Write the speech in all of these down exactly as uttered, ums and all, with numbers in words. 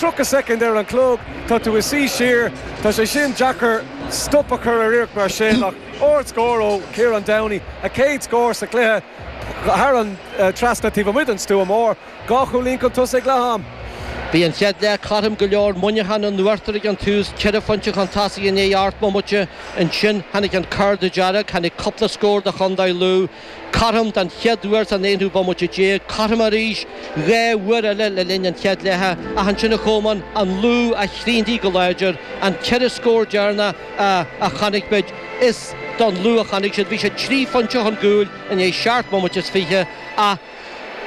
Tríocha soicind ar an chlog, tá tú ag suí siar, tá sé sin deacair stop a chur ar iarracht mar sin, ach ardscór ó Kieran Downey, a chéad scór sa chluiche thar an trasna taobh amuigh den stua mór, dhá chúilín chun tosaigh ag leath am. Bhí an chéad leath cothrom go leor, Muineachán in uachtar ag an tús, ceithre phointe chun tosaigh i ndiaidh ocht mbomaite. Ansin tháinig an cárta dearg, tháinig cúpla scór do chontae Lú. Cothrom den chéad uair san aonú bomaite déag, cothrom arís dhá uair eile le linn an chéad leatha, ach ansin a Cholmáin, an Lú a chríochnaigh go láidir, an ceithre scór deireanach a chonaic muid, is don Lú a tháinig siad. Bhí siad trí phointe chun cúil i ndiaidh seacht mbomaite is fiche, ach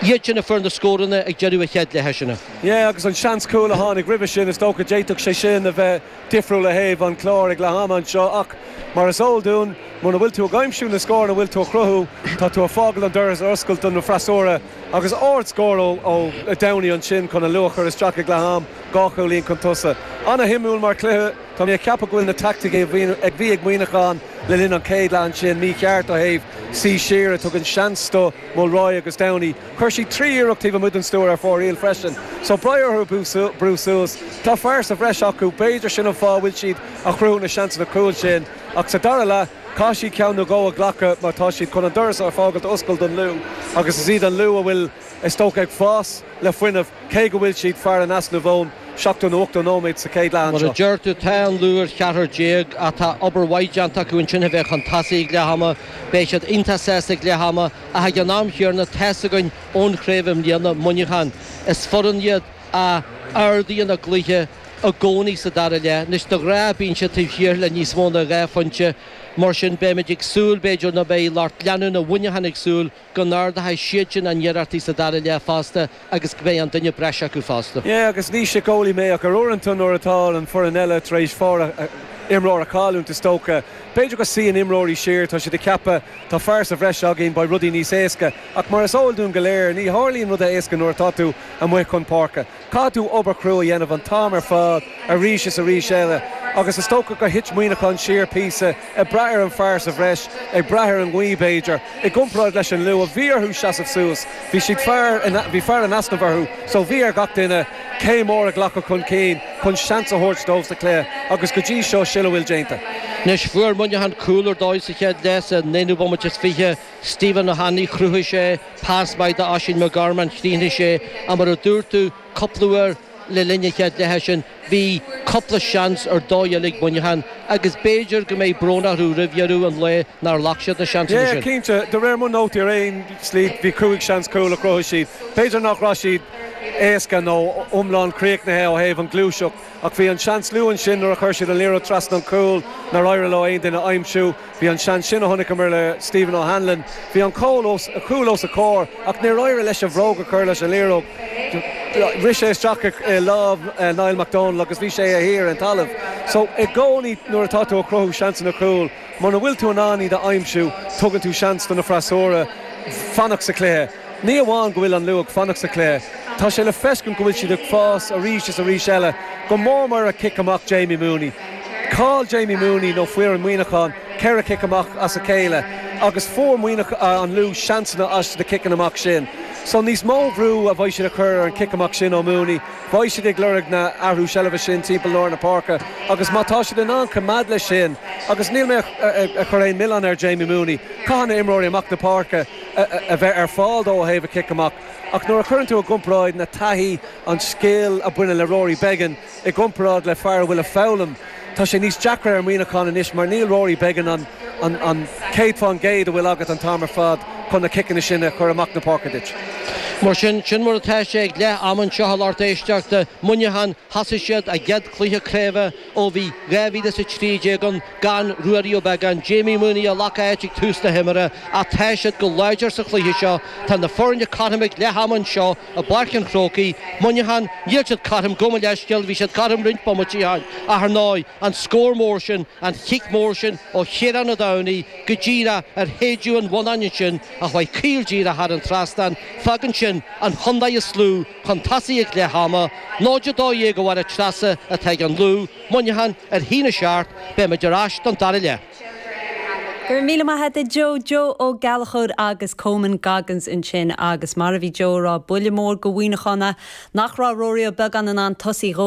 iad sin a fuair na scóranna ag deireadh an chéad leatha sin. Yeah, agus an seans cúil a tháinig roimhe sin, is dócha d'fhéadfadh sé sin a bheith difriúil ó thaobh an clár ag leath ama anseo, ach mar is eol dúinn, muna bhfuil tú ag aimsiú na scóranna a bhfuil tú a chruthú, tá tú ag fágáil an doras ar oscailt don freasúra, agus ardscór ó ó Downey ansin chun an Lú a chur isteach ag leath am, dhá chúilín chun tosaigh. Ana-shuimiúil mar chluiche, tá mé ag ceapadh go bhfuil na taicticí a bhí ag Muineachán le linn an chéad leath ansin mícheart ó thaobh suí siar a tugann seans do Mulroy agus Downey. Chuir siad trí iarracht taobh amuigh den stua ar fóraoil freisin, so beidh orthu brú suas. Tá fear sa bhreis acu, b'fhéidir sin an fáth a bhfuil siad a chruthú na seansanna cúil sin, ach sa dara leath, caithfidh siad ceann nó dhó a ghlacadh mar tá siad chun an doras a fhágáil oscailte don Lú agus is iad an Lú a bhfuil is dócha ag fás le fuinneamh cé go bhfuil siad fear in easnamh ón seachtó nó ochtó nóiméad sa chéad leath Mar a anseo. deir tú, tá an Lú ar cheathrar déag ach tá obair mhaith déanta acu ansin a bheith chun tosaigh ag leath ama. Beidh siad iontach sásta ag leath ama ach ag an am chéanna tá a fhios againn ón chraobh i mbliana, Muineachán. Is foireann iad a ardaíonn a gcluiche i gcónaí sa dara leath. Anois de ghnáth bíonn siad taobh thiar le níos mó ná dhá phointe. Mar sin beimid ag súil b'fhéidir nó beidh lucht leanúna Mhuineacháin ag súil go n-ardóidh siad sin a n-iarrachtaí sa dara leath fosta agus go mbeidh an duine breise acu fosta. Yeah, agus ní síceolaí mé ach ar uaireanta nuair atá an foireann eile tar éis fear imreoir a chailliúint is dócha. B'fhéidir go suíonn imreoirí siar, tá siad ag ceapadh tá fear sa bhreis againn beidh rudaí níos éasca, ach mar is eol dúinn go léir ní tharlaíonn rudaí éasca nuair atá tú amuigh chun páirce. Caithfidh tú obair chrua a dhéanamh an t-am ar fad arís is arís eile, agus is dócha gur thit Muineachán siar píosa ag brath ar an fear sa bhreis, ag brath ar an ngaoth b'fhéidir, i gcomparáid leis an Lú a bhí orthu seasamh suas, bhí siad fear bhí fear in easnamh orthu, so bhí ar gach duine céim mór a ghlacadh chun cinn chun seans a thabhairt dóibh sa chluiche agus go dtí seo sin a bhfuil déanta. Anois fuair Muineachán cúl ar dóigh sa chéad leath sa naonú bomaite is fiche Stephen Ó hAnnaidh chruthaigh sé pas maith d'Oisín McGorman chríochnaigh sé ach mar a dúirt tú cúpla uair le linn an chéad leatha sin bhí cúpla seans ar dóigh eile ag Muineachán agus b'fhéidir go mbeidh brón orthu roimh dheireadh an lae nár ghlac siad na seansanna Yeah, sin. cinnte, de réir mo nótaí ar aon slí bhí cúig seans cúl a chruthaigh siad. B'fhéidir nach raibh siad éasca nó iomlán críochnaithe ó thaobh an ghluaiseacht, ach bhí an seans luath ansin nuair a chuir siad an liathróid trasna an cúl nár éirigh leo aon duine a aimsiú. Bhí an seans sin a chonaiceamar le Stephen O'Hanlon. Bhí an cúl os cúl os a chomhair ach níor éirigh leis an bhróg a chur leis an liathróid. Rith sé isteach i lámh Niall McDonald agus bhí sé a thiar an talamh. So i gcónaí nuair atá tú ag cruthú seansanna cúil, muna bhfuil tú in ann iad a aimsiú, tugann tú seans do na freasúra fanacht sa chluiche. Ní amháin go bhfuil an Lú ag fanacht sa chluiche, Tá sé le feiscint go bhfuil siad ag fás arís is arís eile, go mór mar a cic amach Jamie Mooney. Chaill Jamie Mooney nó fuair an Muineachán ceithre cic amach as a chéile, agus fuair Muineach an Lú seansanna as na ciceanna amach sin. So níos mó brú a bheidh siad a chur ar an cic amach sin ó Mooney, Beidh siad ag lorg na athrú seilbhe sin timpeall lár na páirce, agus má tá siad in ann coimeád leis sin, agus níl mé a chur aon milleán ar Jamie Mooney, caithfidh na imreoirí amach na páirce a bheith ar fáil dó ó thaobh a cic amach. Ach nuair a chuireann tú i gcomparáid na taithí an scil a bhaineann le Rory Beggan i gcomparáid le fear a bhfuil ag foghlaim, tá sé níos deacra ar Muineachán anois mar níl Rory Beggan an an an céad faoin gcéad a bhfuil agat an t-am ar fad chun na ciceanna sin a chur amach na páirce duit. Mar sin sin mar atá sé ag leath ama anseo a lucht éisteachta Muineachán thosaigh siad a gcéad chluiche craoibhe ó bhí dhá mhíle is a trí déag ann gan Ruairí Ó Beagáin, Jamie Mooney a ghlac áit ag tús na himeartha ach tá siad go láidir sa chluiche seo tá na foirne cothrom ag leath ama anseo i bPáirc an Chrócaigh, Muineachán níl siad cothrom gabh mo leithscéal bhí siad cothrom roinnt bomaití ach ar ndóigh an scór mór sin an chic mór sin ó Chiarán Ó Domhnaill go díreach ar théidiú an bhonnáin ansin a chuaigh caol díreach thar an trasnán fágann sin an chontae is lú chun tosaigh ag leath ama, náid a dó dhéag a Mháire Treasa atá ag an Lú, Muineachán ar haon a seacht, beimid ar ais don dara leath. Gur míle maith agat Joe Joe Ó Gallchóir agus Coman Goggins ansin agus mar a bhí Joe rá buille mór do Mhuineachán nach raibh Rory Ó Beagáin in ann tosaí dhó